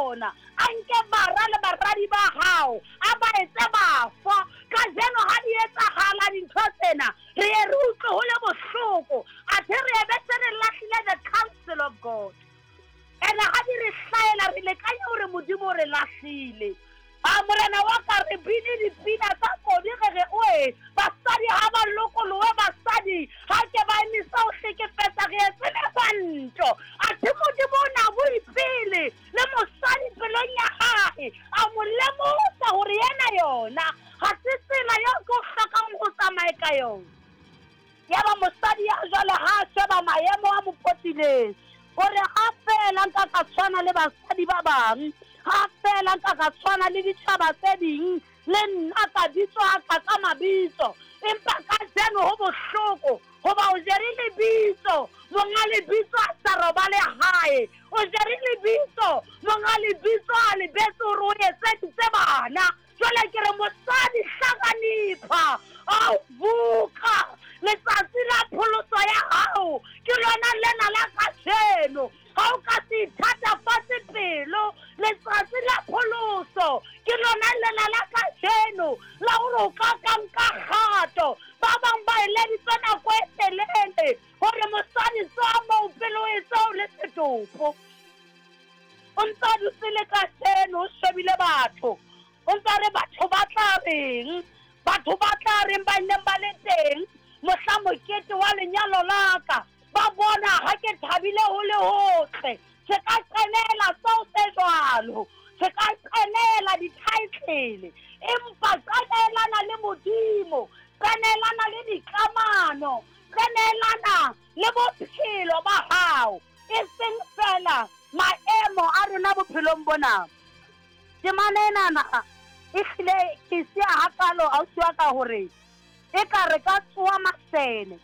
yona, a nke bara le baradi ba hao, a ba etse bafo. Kajeno ha di etsahala dintho tsena, re ye re utlwe ho le bohloko, athe re ebe se re lahlile the counsel of God. Ene ha di re hlaela, re lekanye hore Modimo o re lahlile. A morena wa ka, re bine dipina tsa kodi, re re oe basadi ha ba lokolohe, basadi ha ke ba emisa ho hlekefetsa, re etse megwanto. Athe Modimo o na bue pele le mosadi pelong ya hae, a mo lemosa hore yena yona ha se tsela eo ke o hlokang ho tsamaye ka yona. Yaba mosadi ya jwale ha a sheba maemo a mo potileng, o re ha feela nka ka tshwana le basadi ba bang, ha feela nka ka tshwana le ditjhaba tse ding, le nna ka bitswa ka ka mabitso. Empa kajeno ho bohloko hoba o jere lebitso, monga lebitso a sa robale hae. O jere lebitso, monga lebitso a lebetse hore o etseditse bana. Jwale ke re mosadi, hlakanipha, ao vuka, letsatsi la pholoso ya hao ke lona lena la kajeno. Ha o ka se ithatafatse pelo, letsatsi la pholoso ke lona lena la kajeno, la hore o ka ka nka kgato. Ba bang ba eleditse nako e telele hore mosadi tswa moo pele o etse o le setopo. O ntsa dutse le kajeno, o shebile batho, o ntsa re batho ba tla reng, batho ba tla reng ba neng ba le teng mohla mokete wa lenyalo la ka, ba bona ha ke thabile ho le hotle. Se ka qenela tseo tse jwalo, se ka qenela di-title, empa qenelana le Modimo, qenelana le dikamano, qenelana le bophelo ba hao, e seng fela maemo a rona bophelong bona. Temana enana e hlile ke siya hakalo, ausi wa ka, hore e ka re ka tsoa masene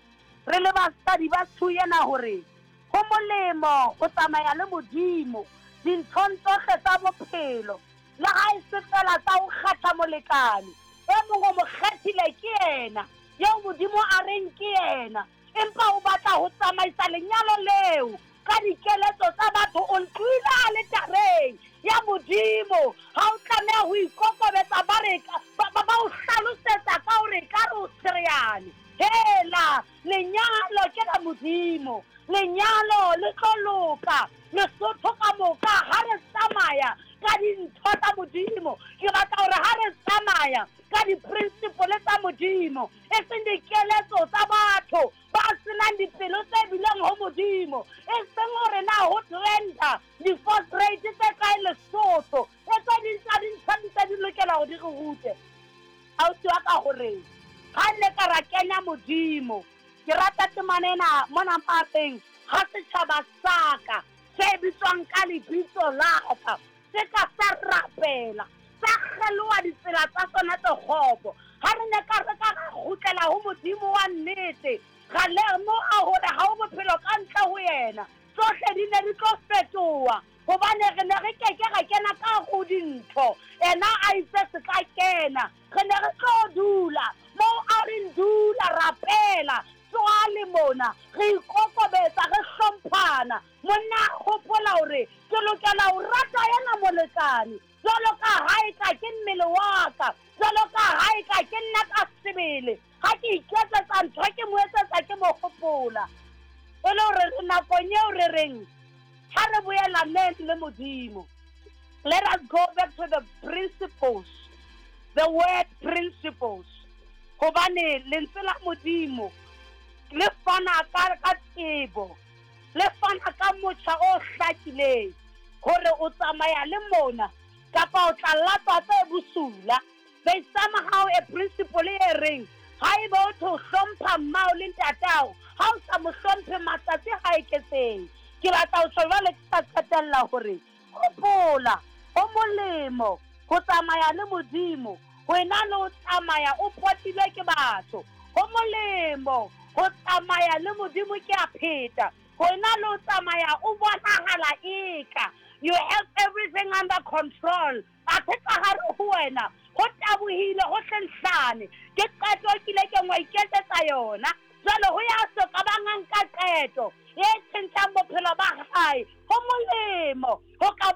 re le basadi ba tsho ena, hore ho molemo ho tsamaya le Modimo dinthong tsohle tsa bophelo, le ha e se fela tsa ho kgetha molekane. E mong o mo kgethile, ke yena eo Modimo a reng ke yena, empa o batla ho tsamaisa lenyalo leo ka dikeletso tsa batho. O ntloile aletareng ya Modimo, ha o tlameha ho ikokobetsa, ba re ba o hlalosetsa ka hore ka re o tshereane. Hela, lenyalo ke la Modimo, lenyalo le tlo loka Lesotho ka moka ha re tsamaya ka dintho tsa Modimo. Ke batla hore ha re tsamaya ka di-principle tsa Modimo, e seng dikeletso tsa batho ba senang dipelo tse bileng ho Modimo, e seng hore na ho trenda divorce rate tse kae Lesotho. E tse ding tsa dintho di tse di lokela hore di re rute, ausi wa ka, hore ha nne ka ra kenya Modimo. Ke rata temana ena mona mapeng: ha setjhaba sa ka se bitswang ka lebitso la ka se ka sa rapela, sa kgeloha ditsela tsa tsona tse kgopo, ha re ne ka re ka ra kgutlela ho Modimo wa nnete, ra lemoha hore ha o bophelo ka ntle ho yena, tsohle di ne di tlo fetoha, hobane re ne re keke ra kena ka ho dintho ena a itse se ka kena. Re ne re tlo dula moo a reng dula, rapela, tswale mona, re ikokobetsa, re hlomphana. Monna a hopola hore ke lokela ho rata yena molekane jwalo ka ha e ka ke mmele wa ka, jwalo ka ha e ka ke nna ka sebele. Ha ke iketsetsa ntho, ke mo etsetsa, ke mo hopola. E le hore re nakong eo re reng ha re boelaneng le Modimo. Let us go back to the principles, the word principles, hobane lentswe la Modimo le fana ka tsebo, le fana ka motjha o hlakileng hore o tsamaya le mona kapa o tla latswa tse bosula. There is somehow a principle e reng haeba o tho hlompha mmao le ntatao, ha o sa mo hlomphe, matsatsi ha eketseng. Ke batla ho tjho jwale, ke sa qetella, hore hopola, ho molemo ho tsamaya le Modimo ho ena le ho tsamaya o potilwe ke batho. Ho molemo ho tsamaya le Modimo, ke a pheta, ho ena le ho tsamaya o bonahala eka you have everything under control, athe ka hare ho wena ho tabohile, ho hlenhlane. Ke qeto kile ke ngwa iketsetsa yona. Jwale ho ya so ka bang nka qeto e tjhentjhang bophelo ba hae, ho molemo ho ka.